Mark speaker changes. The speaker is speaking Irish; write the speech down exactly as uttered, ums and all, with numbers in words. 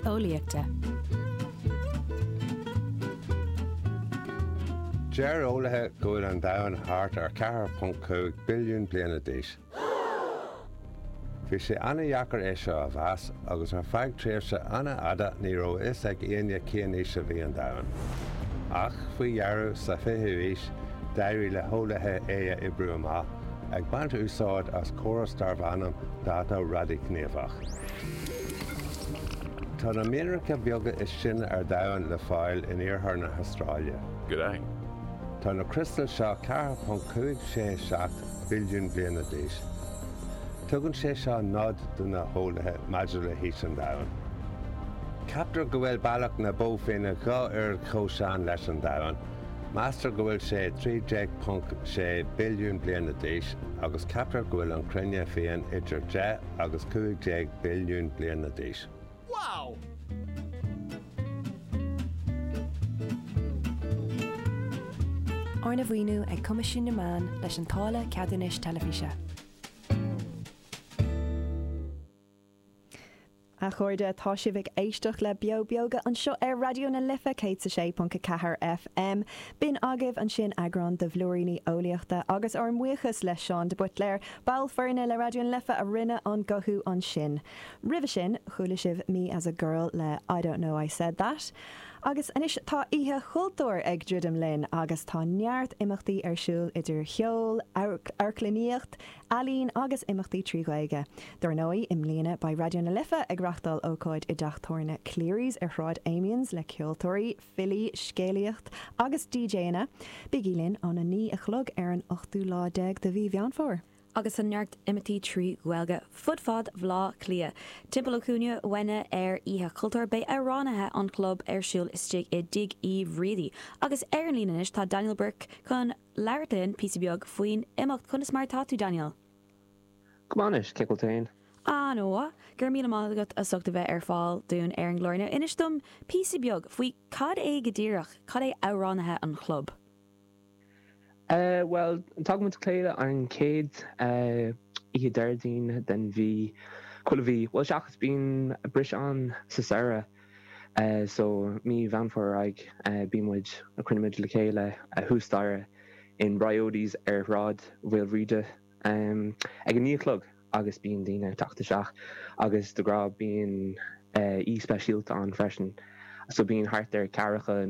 Speaker 1: Eolaíochta.
Speaker 2: Deir eolaithe go bhfuil an domhan thart ar ceathair ponc cúig billiún bliana d'aois. Bhí sé an-deacair é seo a mheas agus ar feadh tréimhse an-fhada ní raibh a fhios ag éinne cén aois a bhí an domhan. Ach faoi dheireadh sa fichiú aois d'éirigh le heolaithe é a oibriú amach, ag baint úsáid as córas darb ainm dáta radaighníomhach. Tá na mianracha beaga is sine ar domhan le fáil in iarthar na hAstráile.
Speaker 3: G'day.
Speaker 2: Tá na criostail seo ceathair ponc cúig sé seacht billiún bliana d'aois. Tugann sé seo nod do na heolaithe maidir le haois an domhain. Ceaptar go bhfuil Bealach na Bó Finne dhá oiread chomh sean leis an domhan. Meastar go bhfuil sé trí déag ponc sé billiún bliana d'aois agus ceaptar go bhfuil an chruinne féin idir deich agus cúig déag billiún bliana d'aois.
Speaker 3: Wow!
Speaker 4: Arna mhaoiniú ag Coimisiún na Meán leis an táille ceadúnais teilifíse. A chairde, tá sibh ag éisteacht le Beo Beoga anseo ar Raidió na Life céad a sé ponc a ceathair FM. B'in agaibh ansin eagrán de Bhlúiríní Eolaíochta agus ár mbuíochas le Seán de Buitléir, ball foirne le Raidió na Life a rinne an guthú ansin. Roimhe sin, chuala sibh Me as a Girl le I Don't Know I Said That. Agus anois tá Oíche Chultúir ag druidim linn agus tá neart imeachtaí ar siúl idir cheol, amharclannaíocht, ealaín agus imeachtaí trí Ghaeilge. Dar ndóigh, i mbliana beidh Raidió na Life ag reáchtáil ócáid i dteach tábhairne Cleary's ar Shráid Amiens le ceoltóirí, filí, scéalaíocht agus DJanna. Bígí linn óna naoi a chlog ar an ochtú lá déag de mhí Mheán Fómhair.
Speaker 5: Agus tá neart imeachtaí trí Ghaeilge fud fad Bhaile Átha Cliath. Timpeall an chúinne uainne ar Oíche Chultúir beidh Amhránaithe an Chlub ar siúl istigh i dTigh Uí Bhriaidí. Agus ar an líne anois tá Daniel Burke chun labhairt linn píosa beag faoin imeacht. Conas mar atá tú, Daniel?
Speaker 6: Go maith anois, cén chaoi a bhfuil tú féin?
Speaker 5: An-mhaith, go raibh míle maith agat as ucht a bheith ar fáil dúinn ar an gclár inniu. Inis dom píosa beag faoi cad é go díreach, cad é Amhránaithe an Chlub?
Speaker 6: Bhuel, tagann muid le chéile an chéad oíche Déardaoin den mhí, chuile mhí, bhuel seachas bíonn briseadh ann sa samhradh, so mí Mheán Fómhair ar aghaidh bíonn muid, cruinnímid le chéile thuas staighre in Briodi's ar Shráid Mhaoilbhríde ag a naoi a chlog agus bíonn daoine ag teacht isteach agus de ghnáth bíonn aoi speisialta ann freisin, so bíonn thart ar ceathracha